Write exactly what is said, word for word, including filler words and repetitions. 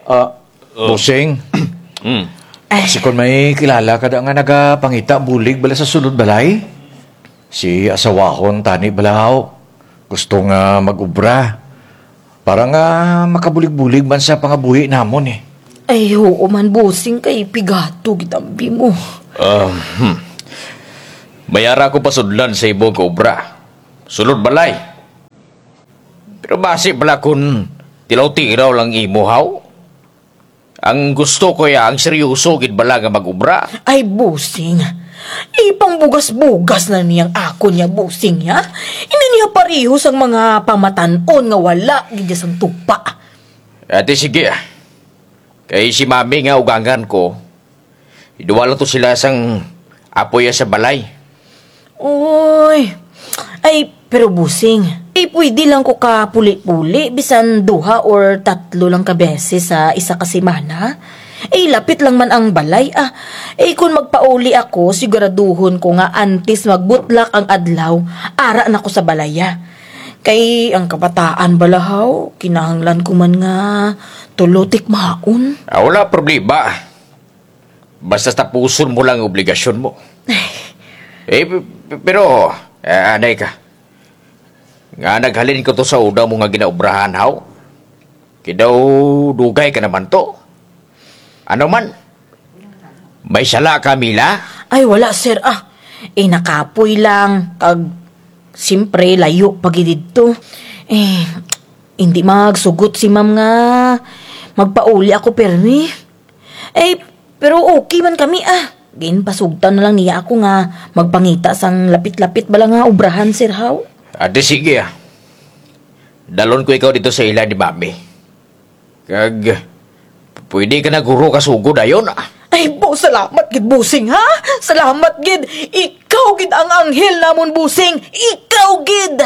Ah, Bossing. Mm. Ay. Si kon may kilala ka da nga nagapangita bulig bala sa sulod balay? Si asawahon tani bala haw. Gusto nga mag-obra. Para nga makabulig-bulig man sa pangabuhi namon, eh. Ay, huo man, Bossing, kay pigato gid ang bi mo. Ah, hmm. May ara ko pasudlan sa imo nga obra. Sulod balay. Pero basi bala kon tilaw-tilaw lang imo, haw? Ang gusto ko ya, ang seryoso gid bala nga mag-obra. Ay, Bossing. Ipangbugas-bugas na niya ang akon ya, Bossing, ya. Indi niya parehos ang mga pamatan-on nga wala gid ya sang tupa. Ate, sige, ah. Kay si Mami nga ugangan ko, iduwa lang to sila sang apoy ya sa balay. Uy. Ay, pero Bossing, eh, pwede lang ko ka puli-puli, bisan duha or tatlo lang ka beses sa isa ka semana. Eh, lapit lang man ang balay, ah. Eh, kon magpauli ako, siguraduhon ko nga antes magbutlak ang adlaw, ara na ko sa balay, ah. Kay ang kabataan bala haw, kinahanglan ko man nga tulo tikmaon. Ah, wala problema. Basta tapuson mo lang ang obligasyon mo. Ay. Eh, p-, p-, pero, ah, anay ka. Nga naghalin ko to sa una mo nga ginaobrahan, haw? Kay daw dugay ka naman to. Ano man? May sala ka, Mila? Ay, wala, sir, ah. Eh, nakapoy lang. Kag, siyempre, layo pa gid didto. Eh, hindi magsugot si ma'am nga magpauli ako pirmi. Eh, pero okay man kami, ah. Ginpasugtan na lang niya ako nga magpangita sang lapit-lapit bala nga obrahan, sir, haw. Ate, sige, ah. Dalon ko ikaw didto sa ila ni Mami. Kag, pwede ka na guro kasugod dayon, ah. Ay, bo, salamat gid, Bossing, ha? Salamat gid. Ikaw gid ang anghel namon, Bossing. Ikaw gid.